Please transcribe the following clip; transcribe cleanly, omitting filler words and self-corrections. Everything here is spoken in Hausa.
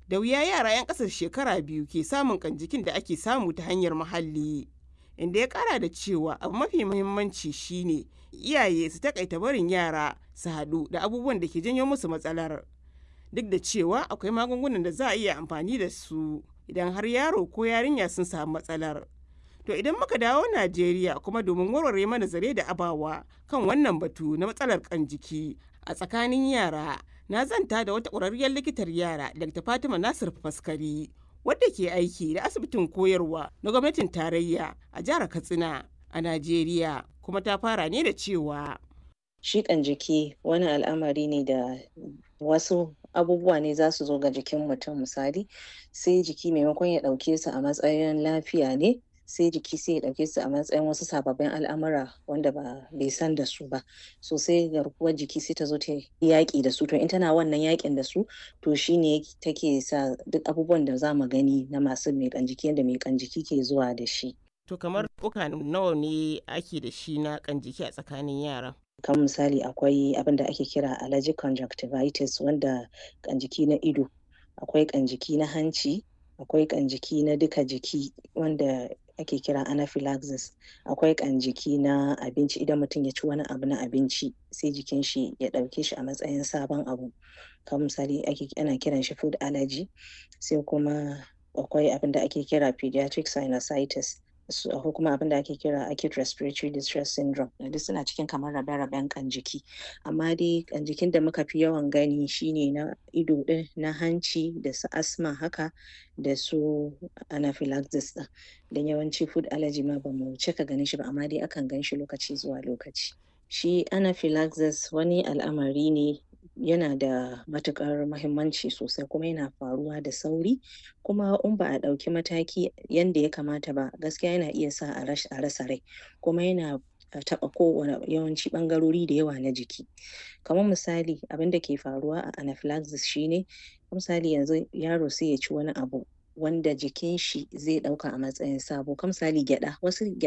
Da wuya yara 'yan ƙasar shekara 2 ke samun ƙan-jikin da ake samu ta hanyar muhalli, inda ya kara da cewa abu mafi muhimmanci shi ne iyaye su taƙaita barin yara su haɗu da abubuwan da ke janyo musu matsalar, duk da cewa akwai magungunan da za a iya amfani da su idan har yaro ko yarinya sun samu matsalar. To idan muka dawo Najeriya kuma, domin warware mana zare da abawa kan wannan batu na matsalar ƙan-jiki a tsakanin yara, na zanta da wata ƙwararriyar likitar yara, Dr. Fatima Nasir Faskari, wadda ke aiki da asibitin koyarwa na gwamnatin tarayya a jihar Katsina a Najeriya, kuma ta fara ne da cewa: Shi ƙan-jiki wani al'amari ne da wasu abubuwa ne za su zo ga jikin mutum, misali, sai jiki maimakon ya ɗauke su a matsayin lafiya ne, sai jiki sai ya ɗauke su a matsayin wasu sababbin al'amura wanda ba bai san da su ba. So sai garkuwar jiki sai ta zo ta yaƙi da su. To in tana wannan yaƙin da su, to shine take sa duk abubuwan da za mu gani na masu mai ƙan-jiki, yanda mai ƙan-jiki ke zuwa da shi. To kamar nau'uka nawa ne ake da shi na ƙan-jiki a tsakanin yara? Kamar misali, akwai abin da ake kira allergic conjunctivitis, wanda ƙan-jiki na ido, akwai ƙan-jiki na hanci, akwai ƙan-jiki na duka jiki wanda ake kira anaphylaxis, akwai ƙan-jiki na abinci, idan mutum ya ci wani abu na abinci sai jikin shi ya ɗauke shi a matsayin sabon abu. Kamar misali, ana kiran shi food allergy. Sai kuma akwai abin da ake kira pediatric sinusitis. Akwai kuma abin da ake kira acute respiratory distress syndrome. Duk suna cikin kamar rabe-raben ƙan-jiki. Amma dai ƙan-jikin da muka fi yawan gani shine na ido ɗin, na hanci, da su asthma haka, da su anaphylaxis ɗin. Don yawanci food allergy ma ba mu cika ganin shi ba, amma dai akan gan shi lokaci zuwa lokaci. Shi anaphylaxis wani al'amari ne, yana da matuƙar muhimmanci sosai, kuma yana faruwa da sauri, kuma in ba a ɗauki mataki yanda ya kamata ba, gaskiya yana iya sa a rasa rai, kuma yana taɓa kowane yawanci ɓangarori da yawa na jiki. Kamar misali, abin da ke faruwa a anaphylaxis shine, misali, yanzu yaro sai ya ci wani abu wanda jikin shi zai ɗauka a matsayin sabo, kamar misali gyaɗa, wasu